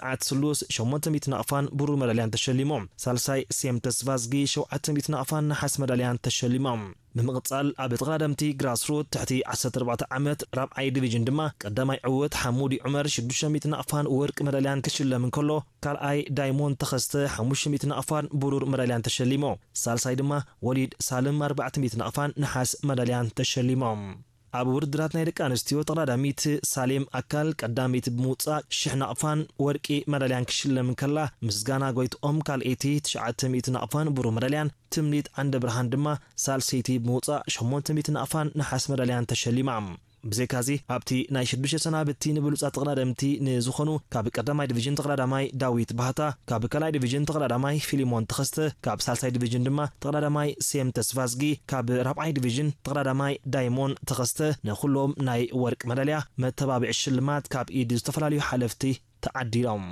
ጸዓት ስሉስ ሸሞንተ ሚእቲ ናቕፋን ብሩር መዳልያን ተሸሊሞም። ሳልሳይ ሴም ተስፋዝጊ ሸውዓተ ሚእቲ ናቕፋን ነሓስ መዳልያን ተሸሊሞም። ብምቕጻል ኣብ ተቐዳደምቲ ግራስሩት ትሕቲ ዓሰርተ ኣርባዕተ ዓመት ራብዓይ ዲቪዥን ድማ ቀዳማይ ዕውት ሓሙዲ ዑመር ሽዱሽተ ሚእቲ ናቕፋን ወርቂ መዳልያን ክሽለም እንከሎ፣ ካልኣይ ዳይሞንድ ተኸስተ ሓሙሽተ ሚእቲ ናቕፋን ብሩር መዳልያን ተሸሊሞ። ሳልሳይ ድማ ወሊድ ሳልም ኣርባዕተ ሚእቲ ናቕፋን ነሓስ መዳልያን ተሸሊሞም። ኣብ ውድድራት ናይ ደቂ ኣንስትዮ ተቐዳዳሚት ሳሌም ኣካል ቀዳመይቲ ብምውጻእ ሽሕ ናቕፋን ወርቂ መዳልያን ክሽለም እንከላ፣ ምስጋና ጎይትኦም ካልኣይቲ ትሽዓተ ሚእቲ ናቕፋን ብሩር መዳልያን፣ ትምኒት ዓንደ ብርሃን ድማ ሳልሰይቲ ብምውጻእ ሸሞንተ ሚእቲ ናቕፋን ነሓስ መዳልያን ተሸሊማ። ብዘይካዚ ኣብቲ ናይ ሽዱሽተ ሰናብቲ ንብሉጻት ተቐዳደምቲ ንዝኾኑ ካብ ቀዳማይ ዲቪዥን ተቐዳዳማይ ዳዊት ባህታ፣ ካብ ካልኣይ ዲቪዥን ተቐዳዳማይ ፊሊሞን ተኸስተ፣ ካብ ሳልሳይ ዲቪዥን ድማ ተቐዳዳማይ ሴም ተስፋዝጊ፣ ካብ ራብዓይ ዲቪዥን ተቐዳዳማይ ዳይሞን ተኸስተ ንኹሎም ናይ ወርቂ መዳልያ መተባብዒ ሽልማት ካብ ኢድ ዝተፈላለዩ ሓለፍቲ ተዓዲሎም።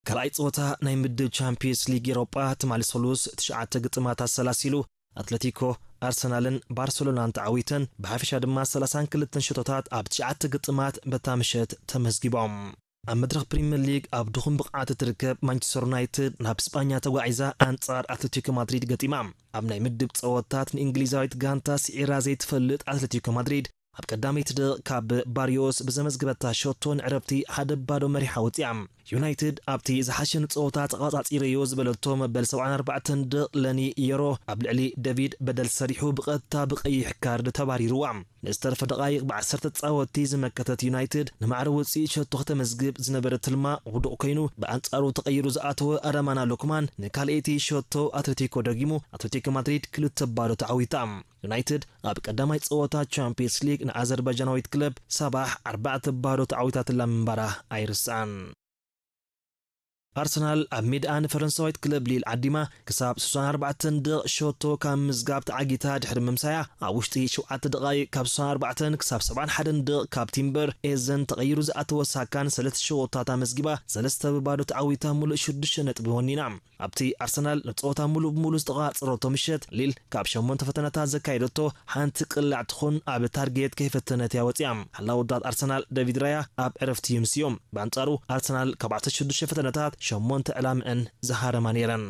ካልኣይ ጸወታ ናይ ምድብ ቻምፒየንስ ሊግ ኤሮጳ ትማሊ ሰሉስ ትሽዓተ ግጥማት ኣሰላሲሉ ኣትለቲኮ፣ ኣርሰናልን ባርሰሎናን ተዓዊተን ብሓፈሻ ድማ ሰላሳን ክልተን ሸቶታት ኣብ ትሽዓተ ግጥማት በታ ምሸት ተመዝጊቦም። ኣብ መድረኽ ፕሪምየር ሊግ ኣብ ድኹም ብቕዓት እትርከብ ማንቸስተር ዩናይትድ ናብ ስጳኛ ተጓዒዛ ኣንጻር ኣትለቲኮ ማድሪድ ገጢማ። ኣብ ናይ ምድብ ጸወታት ንእንግሊዛዊት ጋንታ ስዒራ ዘይትፈልጥ ኣትለቲኮ ማድሪድ ኣብ ቀዳመይቲ ደቕ ካብ ባርዮስ ብዘመዝገበታ ሸቶ ንዕረፍቲ ሓደ ባዶ መሪሓ ወጺኣ። ዩናይትድ ኣብቲ ዝሓሸ ንጸወታ ተቐጻጺረዮ ዝበለቶ መበል ሰብዓን ኣርባዕተን ደቕ ለኒ የሮ ኣብ ልዕሊ ደቪድ በደል ሰሪሑ ብቐጥታ ብቐይሕ ካርድ ተባሪርዋ። ንዝተረፈ ደቓይቕ ብዓሰርተ ተጻወትቲ ዝመከተት ዩናይትድ ንማዕረ ውጽኢት ሸቶ ከተመዝግብ ዝነበረ ትልማ ውዱቕ ኮይኑ፣ ብኣንጻሩ ተቐይሩ ዝኣተወ ኣዳማና ሎክማን ንካልኣይቲ ሸቶ ኣትሌቲኮ ደጊሙ ኣትሌቲኮ ማድሪድ ክልተ ባዶ ተዓዊታ። ዩናይትድ ኣብ ቀዳማይ ጸወታ ቻምፒየንስ ሊግ ንኣዘርባይጃናዊት ክለብ ሳባሕ ኣርባዕተ ባዶ ተዓዊታትላ ምንባራ ኣይርሳዕን። ኣርሰናል ኣብ ሜድኣ ንፈረንሳዊት ክለብ ሊል ዓዲማ ክሳብ ስሳን ኣርባዕተን ደቕ ሸቶ ካብ ምዝጋብ ተዓጊታ ድሕሪ ምምሳያ፣ ኣብ ውሽጢ ሸውዓተ ደቓይቕ ካብ ስሳን ኣርባዕተን ክሳብ ሰብዓን ሓደን ደቕ ካብ ቲምበር ኤዘን ተቐይሩ ዝኣተወ ሳካን ሰለስተ ሸቶታት ኣመዝጊባ፣ ሰለስተ ብባዶ ተዓዊታ ምሉእ ሽዱሽተ ነጥቢ ወኒና። ኣብቲ ኣርሰናል ንጸወታ ምሉእ ብምሉእ ዝተቓጸረቶ ምሸት፣ ሊል ካብ ሸሞንተ ፈተነታት ዘካየደቶ ሓንቲ ቅላዕ ትኹን ኣብ ታርጌት ከይፈተነት እያ ወጺኣ። ሓላዊ ውዳት ኣርሰናል ደቪድ ራያ ኣብ ዕረፍቲ ይምስዮም። ብኣንጻሩ ኣርሰናል ካብ ዓሰርተ ሽዱሽተ ፈተነታት ሸሞንተ ዕላምአን ዝሃረማ ነይረን።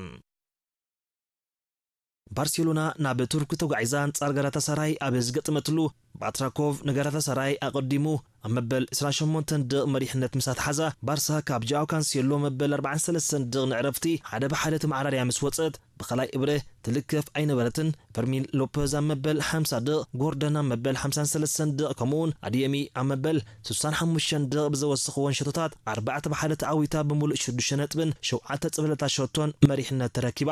ባርሴሎና ናብ ቱርኪ ተጓዒዛ ኣንጻር ጋላታሳራይ ኣብ ዝገጠመትሉ፣ ባትራኮቭ ንጋላታሳራይ ኣቐዲሙ ኣብ መበል ዕስራን ሸሞንተን ደቕ መሪሕነት ምስ ኣትሓዛ፣ ባርሳ ካብ ጃኦ ካንሴሎ መበል ኣርባዓን ሰለስተን ደቕ ንዕረፍቲ ሓደ ብሓደ ተመዓራርያ ምስ ወጸት፣ ብኻልኣይ እብረ ትልከፍ ኣይነበረትን። ፈርሚን ሎፐዝ ኣብ መበል ሓምሳ ደቕ፣ ጎርደን ኣብ መበል ሓምሳን ሰለስተን ደቕ፣ ከምኡውን ኣድየሚ ኣብ መበል ስሳን ሓሙሽተን ደቕ ብዘወሰኽወን ሸቶታት ኣርባዕተ ብሓደ ተዓዊታ ብምሉእ ሽዱሽተ ነጥብን ሸውዓተ ጽብለታ ሸቶን መሪሕነት ተረኪባ።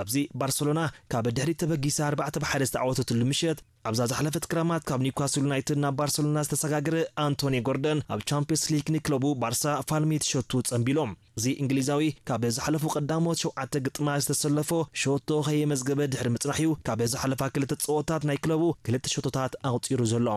ኣብዚ ባርሰሎና ካብ ድሕሪት ተበጊሳ ኣርባዕተ ብሓደ ዝተዓወተትሉ ምሸት፣ ኣብዛ ዝሓለፈት ክረማት ካብ ኒውካስል ዩናይትድ ናብ ባርሰሎና ዝተሰጋገረ ኣንቶኒ ጎርደን ኣብ ቻምፒየንስ ሊግ ንክለቡ ባርሳ ፋልሚት ሸቱ ጸንቢሎም። እዚ እንግሊዛዊ ካብ ዝሓለፉ ቀዳሞት ሸውዓተ ግጥማት ዝተሰለፎ ሸቶ ከየመዝገበ ድሕሪ ምጽናሕ'ዩ ካብ ዝሓለፋ ክልተ ጸወታት ናይ ክለቡ ክልተ ሸቶታት ኣቑጺሩ ዘሎ።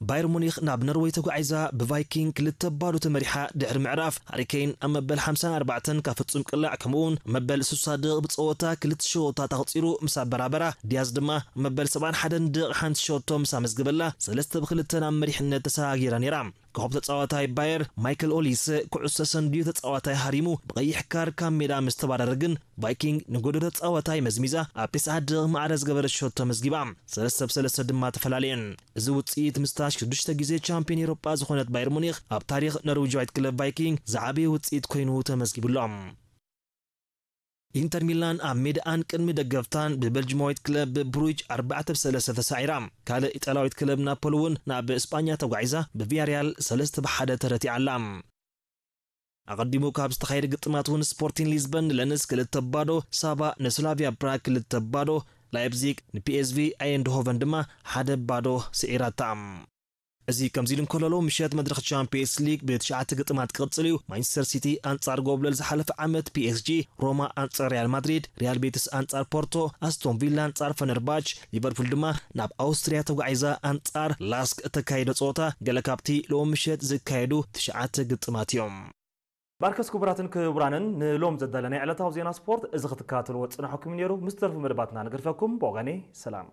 ባየር ሙኒኽ ናብ ኖርወይ ተጓዒዛ ብቫይኪንግ ክልተ ባዶ ተመሪሓ ድሕሪ ምዕራፍ፣ ሃሪ ኬን ኣብ መበል ሓምሳን ኣርባዕተን ካብ ፍጹም ቅላዕ፣ ከምኡ'ውን ኣብ መበል ስሳ ደቕ ብጸወታ ክልተ ሸቶታት ኣቑጺሩ ምስ ኣበራበራ፣ ዲያዝ ድማ ኣብ መበል ሰብዓን ሓደን ደቕ ሓንቲ ሸቶ ምስ ኣመዝገበላ፣ ሰለስተ ብክልተ ናብ መሪሕነት ተሰጋጊራ ነይራ። ኮኸብ ተጻዋታይ ባየር ማይክል ኦሊሰ ኩዕሶ ሰንድዩ ተጻዋታይ ሃሪሙ ብቐይሕ ካርድ ካብ ሜዳ ምስ ተባረረ ግን፣ ቫይኪንግ ንጎዶ ተጻዋታይ መዝሚዛ ኣብ ተስዓ ደቕ ማዕረ ዝገበረት ሸቶ መዝጊባ። ሰለስተ ብሰለስተ ድማ ተፈላለየን። እዚ ውጽኢት ምስታ ሽዱሽተ ግዜ ቻምፒዮን ኤውሮጳ ዝኾነት ባየር ሙኒኽ ኣብ ታሪኽ ኖርዊጃዊት ክለብ ቫይኪንግ ዝዓበየ ውጽኢት ኮይኑ ተመዝጊቡሎም። ኢንተር ሚላን ኣብ ሜዳኣን ቅድሚ ደገፍታን ብበልጅማዊት ክለብ ብሩጅ ኣርባዕተ ብሰለስተ ተሳዒራ። ካልእ ኢጣልያዊት ክለብ ናፖሊ እውን ናብ ስጳኛ ተጓዒዛ ብቪያሪያል ሰለስተ ብሓደ ተረቲዓ ኣላ። ኣቐዲሙ ካብ ዝተኻየደ ግጥማት እውን ስፖርቲን ሊዝበን ንለንስ ክልተ ባዶ፣ ሳባ ንስላቪያ ፕራግ ክልተ ባዶ፣ ላይፕዚግ ንፒኤስቪ ኣይንድሆቨን ድማ ሓደ ባዶ ስዒራታ። እዚ ከምዚ ኢሉ እንከሎ፣ ሎሚ ምሸት መድረኽ ቻምፒየንስ ሊግ ብትሽዓተ ግጥማት ክቕጽል እዩ። ማንቸስተር ሲቲ ኣንጻር ጎብለል ዝሓለፈ ዓመት ፒኤስጂ፣ ሮማ ኣንጻር ሪያል ማድሪድ፣ ሪያል ቤቲስ ኣንጻር ፖርቶ፣ ኣስቶን ቪላ ኣንጻር ፈነርባች፣ ሊቨርፑል ድማ ናብ ኣውስትርያ ተጓዒዛ ኣንጻር ላስክ እተካየዶ ጸወታ ገለ ካብቲ ሎሚ ምሸት ዝካየዱ ትሽዓተ ግጥማት እዮም። ባርከስ ክቡራትን ክቡራንን ንሎም ዘዳለናይ ዕለታዊ ዜና ስፖርት እዚ ክትከታተልዎ ዝጸናሕኩም ነይሩ። ምስ ተርፉ መደባትና ንግርፈኩም። ብወገነይ ሰላም።